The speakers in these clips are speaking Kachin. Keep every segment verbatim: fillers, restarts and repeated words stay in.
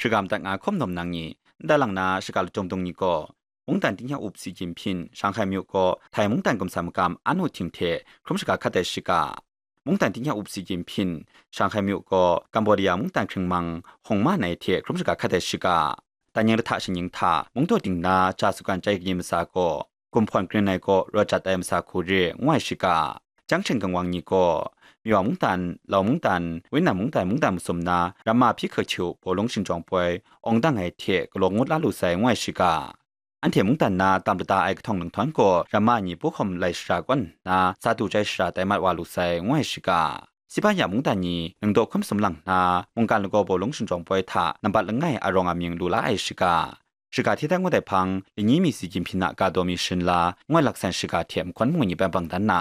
Shaka madat nga hkawm nawm nang ni, ndai lang na shaka lachyum dung ni gaw, mungdan tingnya up Xi Jinping Shanghai myu gaw Thai mungdan gumsa magam Anu Ting hte hkrum shaka hkat ai shaka, mungdan tingnya up Xi Jinping Shanghai myu gaw Cambodia mungdan hkringmang Hong Ma Nai hte hkrum shaka hkat ai shaka, dan ning lahta shingnying hta mungdaw ting na ja sugan chyai kayin masa gaw, gumhpawn grin ai gaw rawt jat ai masa hku re ngu ai shaka, jang shing kangwang ni gaw, Miwa mungdan, Lau mungdan, Winnan mungdan mungdan masum na ramma hpyi hkachu bawlung shingjawng poi awng dang ai hte galaw ngut la lu sai ngu ai shaka, anhte mungdan na tam lata ai kahtawng ninghtawng gaw ramma ni puhkawm lai shara kawn nna sa du chyai shara tai mat wa lu sai ngu ai shaka, Sipanya mungdan ni ningdaw hkun masum lang nna mungkan lagaw bawlung shingjawng poi hta nambat langai arawng amying lu la ai shaka, shaka hti dan ngut ai hpang, lani mi Xi Jinping a ga daw mi sharin la ngu ai laksan shaka hte mahkawn mu ni bang bang dan na,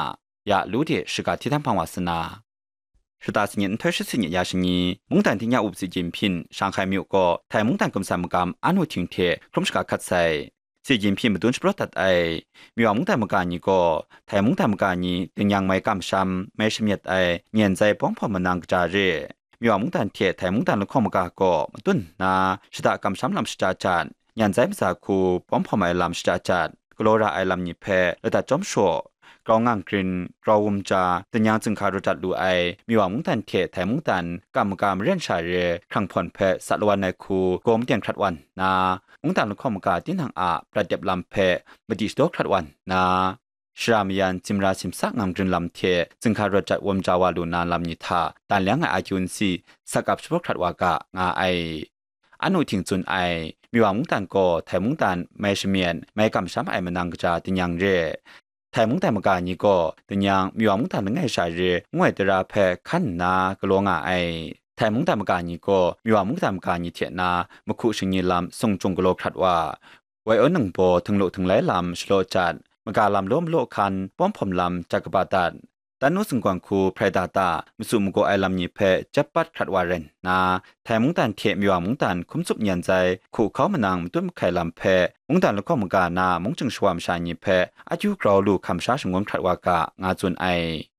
ya lu de shaka hti dan hpang wa sa na, shata sanit nhtoi shi sanit ya shani, mungdan tingnya up Xi Jinping Shanghai myu gaw Thai mungdan gumsa magam Anu Ting hte hkrum shaka hkat sai. Xi Jinping madun shapraw dat ai Miwa mungdan maga ni gaw Thai mungdan maga ni tingnyang mai kamsham, mai shamyet ai nyan zai bawng hpawm manang kaja re, Miwa mungdan hte Thai mungdan lahkawng maga gaw matun nna shada kamsham lam shada jat, nyan zai maza hku bawng hpawm ai lam shada jat, galaw ra ai lam ni hpe ladat chyawm shaw, grau ngang grin, grau wum ja, tingnyang zingka rawt dat lu ai Miwa mungdan hte Thai mungdan kam maga maren sha re hkrang hpawn hpe sa lawan ai hku gaw maten hkrat wan nna, mungdan lahkawng maga tinang a prat dep lam hpe madi shadaw hkrat wan nna, shara mayan, zimra simsa ngang grin lam hte zingka rawt jat wam ja wa lu na lam ni hta dan leng ai akyu nsi sak ap shapraw hkrat wa ga nga ai. Anu Ting tsun ai, Miwa mungdan gaw Thai mungdan mai shamyen, mai kamsham ai manang kaja tingnyang re. Thai mungdan maga ni gaw tingnyang Miwa mungdan langai sha re ngu ai tara hpe hkan nna galaw nga ai. Thai mungdan maga ni gaw Miwa mungdan maga ni hte na mahku shingni lam sung chyung galaw hkrat wa, wai awn ningbaw htinglu htinglai lam shalaw jat, maga lam law malaw hkan, bawm hpawm lam jat kaba dat, Tanu singkawng hku hprai da ta, masu magaw ai lam ni hpe jep pat hkrat wa rai nna, Thai mungdan hte Miwa mungdan hkum tsup nyan zai hku hkau manang matut mahkai lam hpe mungdan lahkawng maga na mungchying shawa masha ni hpe akyu grau lu hkam sha shangun hkrat wa ga, nga tsun ai.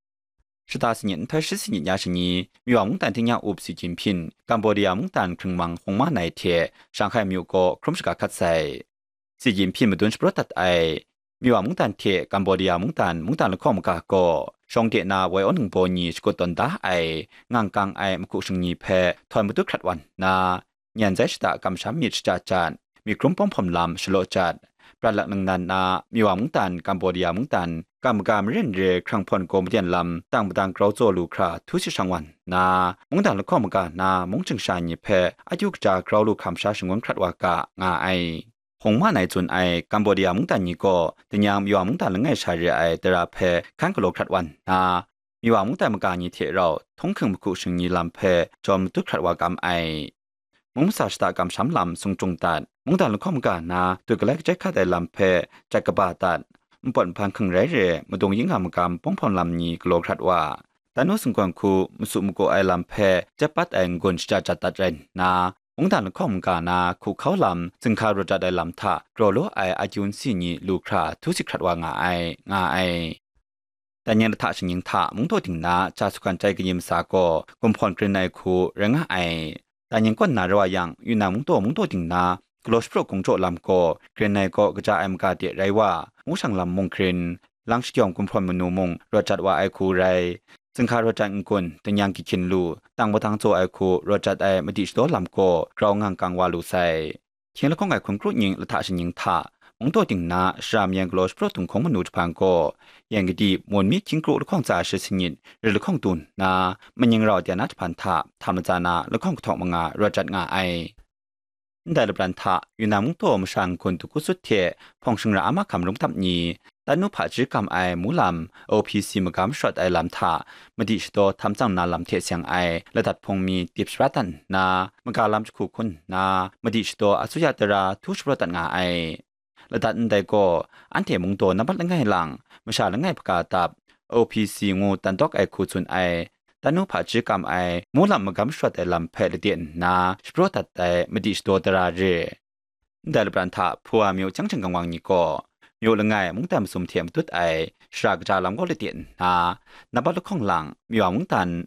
Shata sanit nhtoi shi sanit ya shani, Miwa mungdan tingnya up Xi Jinping, Cambodia mungdan hkringmang Hong Ma Nai hte Shanghai myu gaw hkrum shaka hkat sai. Xi Jinping madun shapraw dat ai, Miwa mungdan hte Cambodia mungdan, mungdan lahkawng maga gaw, shawng de na wai awn ningbaw ni shakut tawn da ai, ngang kang ai mahku shingni hpe htawn matut hkrat wan nna, nyan zai shada kamsham myit shada jat, myit hkrum bawm hpawm lam shalaw jat, prat lak ningnan na Miwa mungdan, Cambodia mungdan, kam maga maren re hkrang hpawn gaw maden lam tang madang grau tsaw lu hkra htu si shang wan nna, mungdan lahkawng maga na mungchying sha ni hpe akyu kaja grau lu hkam sha shangun hkrat wa ga, nga ai. Hong Ma Nai tsun ai Cambodia mungdan ni gaw tingnyang Miwa mungdan langai sha re ai tara hpe hkan galaw hkrat wan nna, Miwa mungdan maga ni hte rau htunghking mahku shingni lam hpe jawm matut hkrat wa kam ai. Mung masa shada kamsham lam sung chyung dat, mungdan lahkawng maga na dut galai kachai hkat ai lam hpe jat kaba dat, npawt nhpan hking rai re madung yin nga magam bawng hpawm lam ni galaw hkrat wa, Tanu singkawng hku masu magaw ai lam hpe jep pat ai n-gun shada jat dat rai nna, mungdan lahkawng maga na hku hkau lam, zingka rawt jat ai lam hta grau law ai akyu nsi ni lu hkra htu si hkrat wa nga ai, nga ai. Dan ning lahta shingnying hta mungdaw ting na ja sugan chyai kayin masa gaw gumhpawn grin ai hku rai nga ai. Dan ning kawn na rau a yang, Yunnan mungdaw mungdaw ting na galaw shapraw gungjaw lam gaw grin ai gaw kaja ai maga de rai wa, mushang lam mung grin, lang shagyawng gumhprawn manu mung rawt jat wa ai hku rai. Zingka rawt jat n-gun, tingnyang gyi hkyin lu, tang padang tsaw ai hku rawt jat ai madi shadaw lam gaw grau ngang kang wa lu sai. Hkying lahkawng ai hkun kru ning lahta shingnying hta, mungdaw ting na shara mayan galaw shapraw dunghkawng manu jahpan gaw, yan kadi, mun mi hkying kru lahkawng tsa shi sanit, rit lahkawng du nna, maning rau dai na jahpan hta, htam latsa na lahkawng kahtawk manga rawt jat nga ai. Ndai lapran hta, Yunnan mungdaw masha n-gun dagusut hte hpawng shingra a mahkam rungtap ni, Tanu hpaji kam ai mu lam, O P C magam shawt ai lam hta, madi shadaw htam tsang na lam hte seng ai ladat hpung mi dip shara dat nna, maga lam jahku hkun nna, madi shadaw asuya tara htu shapraw dat nga ai. Ladat ndai gaw, anhte mungdaw nambat langai lang, masha langai hpaga dap, O P C ngu tan tawk ai hku tsun ai, Tanu hpaji kam ai mu lam magam shawt ai lam hpe lade nna shapraw dat ai madi shadaw tara re. Ndai lapran hta Hpua myu chyang chyang kangwang ni gaw, myu langai mungdan masum hte matut ai shara kaja lam gaw lade nna, nambat lahkawng lang, Miwa mungdan,